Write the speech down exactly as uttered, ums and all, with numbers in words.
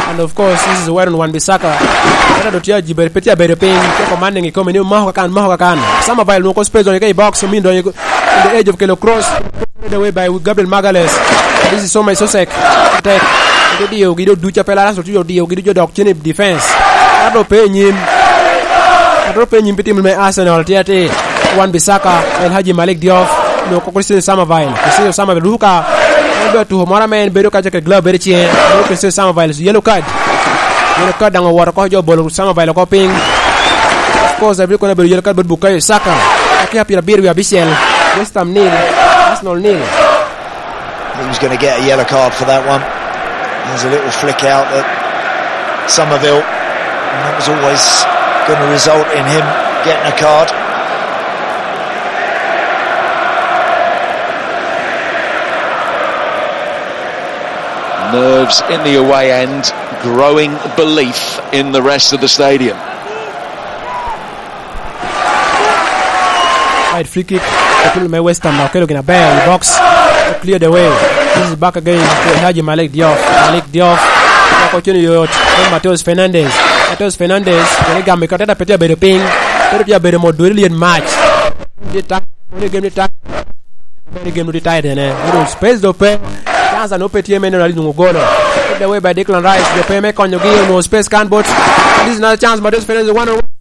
And of course, this is where Wan Bissaka. Kata do tye ajibe, pe tye abedo piny, tye commanding i kome ni, "Mako kakan, mako kakan." Samabil nwoŋo space donyo ka i box, omin donyo in the edge of kelo cross. Played away by Gabriel Magalhaes. This is so much so sick. Tek. Gidio, gidio duca pe Lazaro tye odiyo, gidio dok cen i defense. Kata do pe i nyim. Kata do pe i nyim pi tim me Arsenal, tye atir. Wan Bissaka, El Hadji Malik Diouf, nwoŋo Christian Samabil. Christian Samabil ruka. En be tuko moro ame en bedo kaca ke glove bedo ciŋe. Nwoŋo Christian Samabil, yellow card. Yellow card daŋ owoto oko, jo obolo Samabil oko piny. Of course, abiro kono bedo yellow card bot Bukayo Saka. Dakika pyerabiryo wie abicel. West Ham nil, Arsenal nil. He was gonna get a yellow card for that one. There's a little flick out at Somerville. And that was always gonna result in him getting a card. Nerves in the away end, growing belief in the rest of the stadium. Wide free kick. Otuno me West Ham okelo gin aber i box. Clear the way. This is back again to Haji Malik Diouf. Malik Diouf. Opoko cen yot. Then Mateus Fernandes. Mateus Fernandes. Kene gamo i koteta pe tye abedo piny. Pe tye abedo mot dweri lyet mac. Tye tak. Kone gem ni tak. Bene gem ni tight ene. Odo space do pe. Chance no pe tye me neno ali nwoŋo golo. Clear the way by Declan Rice. Do pe me konyogi onwoŋo space kan bot. This is another chance. Mateus Fernandes one on one.